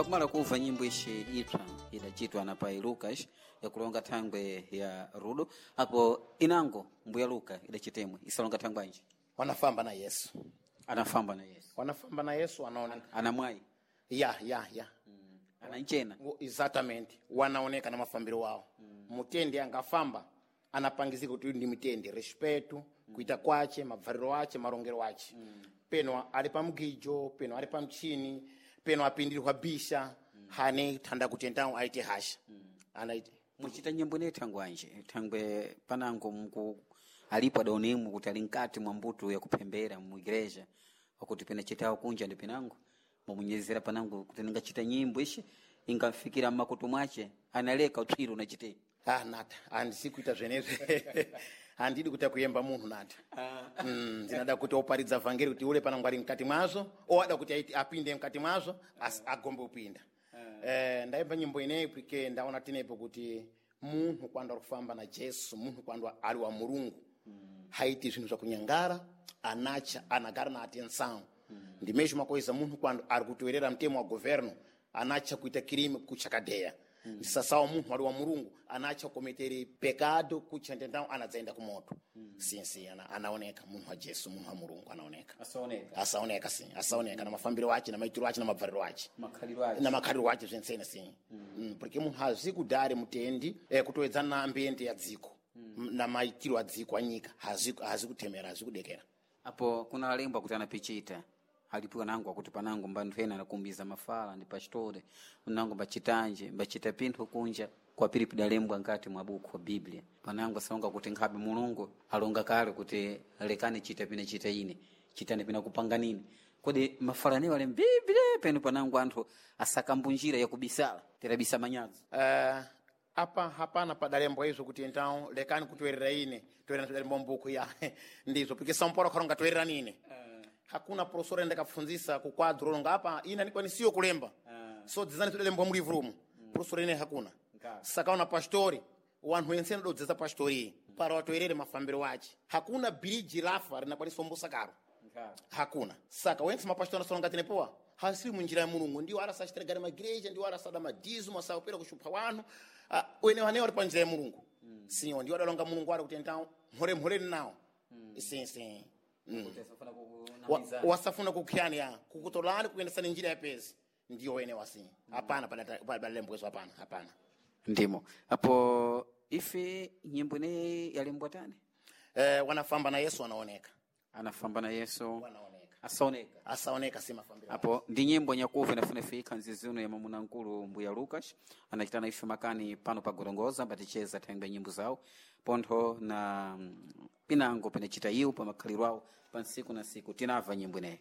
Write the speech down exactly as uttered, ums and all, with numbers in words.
Pakumala kuva nyimbo ishi ipsa idachitwa na pai Lucas yakulonga thangwe ya rudo apo inango mbuya Luka idachitemwe isalonga thangwe anji Wanafamba na Yesu, anafamba na Yesu wanafamba na Yesu wanaoneka ana mwayi ya ya ya ana nchena Wo- exatamente wanaoneka na mafambiro wao mm. Mutendi angafamba anapangizika kuti uyu ndi mitendi respeto mm. Kuita kwache mabvariro ache marongero ache mm. Peno ali pa mgijo peno ali pa mchini peno apindirwa bisha mm. Hane thanda kutendawo aite hasha mm. Anaite muchita nyimbo ine thangwe anji thangwe panango mku alipo adaonemu kuti ali mkati mwa mbuto yakuphembera mu igreja wakuti pena chitawo kunja ndi pinango mwamunyezera panango kuti ningachita nyimbo ishi ingamfikira mmakutu mwache analeka utchiro unachite ah nata andisikuita zvenezvi handidi kuita kuyemba munhu nata mm, ndinada kuti oparidza vhangeri kuti ule panango ali mkati mwazvo oada kuti aite- apinde mkati mwazvo asi agombe kupinda eh, ndaimba nyimbo ineyi pike ndaona tinepo kuti munhu kwanda ari kufamba na jesu munhu kwanda ali wa mulungu haiti zvinhu zvakunyangara anacha anagara na atenção ndimezvo makoisa munhu kwando ari kutoerera mutemo wa governo anacha kuita kirime kuchakadeya mm. Ndisasawa munhu ali wa mulungu anacha kukometere pekado kuchandendao anadzaenda kumoto mm. Sinsi ana, anaoneka munhu wa jesu munhu wa mulungu anaoneka asaoneka asaoneka si asaoneka na mafambiro ache na maitiro ache na mabvariro ache makhaliro ache na makhaliro ache zventsene si mm. Mm, porque munhu hazi kudhari mutendi eh, kutoedzana na ambiente ya dziko mm. Na maitiro a dziko anyika hazi hazi kutemera hazi kudekera apo kuna alembwa kuti anapichita alipiwa nango akuti panango mbanthu ena anakumbiza mafala ndi pastore nango mbachitanje mbachita pinthu kunja kwapiri pidalembwa nkati mwa buku wa biblia panango asalonga kuti nkhabe mulungu alonga kale kuti lekani chita pina chita ine chitani pina kupanganini kodi mafala anewo ali mbiblia penu panango anthu asakambunjira yakubisala terabisa manyazo uh, apa hapana padalembwa izvo kuti então lekani kutoerera ine toerera padalembwa mbuku ya ndizvo porque São Paulo karonga toerera nine hakuna professor ndakapfunzisa kukwadro longa apa ine andikwanisiyo kulemba uh. So dzizani tudalembwa mulivhu umu mm. Professor ine hakuna saka una pastori wanhu wense anododzesa pastori para watoerere mafambiro ache hakuna bhiriji rafa rinakwanisa ombosa karo hakuna saka wense mapastori anasolonga tinepowa hasiri munjira ya mulungu ndiwo arasachitregare magireja ndiwo arasada madhizo masakupera kushupha wanhu uh, wene wanewo ari panjira ya mulungu mm. Sinyo ndiwo adalonga mulungu ari kuti entawo mhore mhoreni nawo mm. Sinsi mm. Wa- wasafuna kukhiyani ya kukutolani kuendesani njira ya pezi ndiyo wene wasi hapana padalembwezo hapana hapana ndimo apo ife nyimbo ineyi yalembwa tani eh, wanafamba na yesu wanaoneka anafamba na yesu wanaoneka asaoneka asaoneka si mafambiro apo ndi nyimbo nyakuva inafuna fika nzizi uno ya mwamuna nkulu mbuya Lucas anachitana ife makani pano pa Gorongoza ambaticheza thangwe nyimbo zawo pontho na mm, pinango pinachita iwo pa makhaliro awo pa nsiku na nsiku tinamva nyimbo ineyi.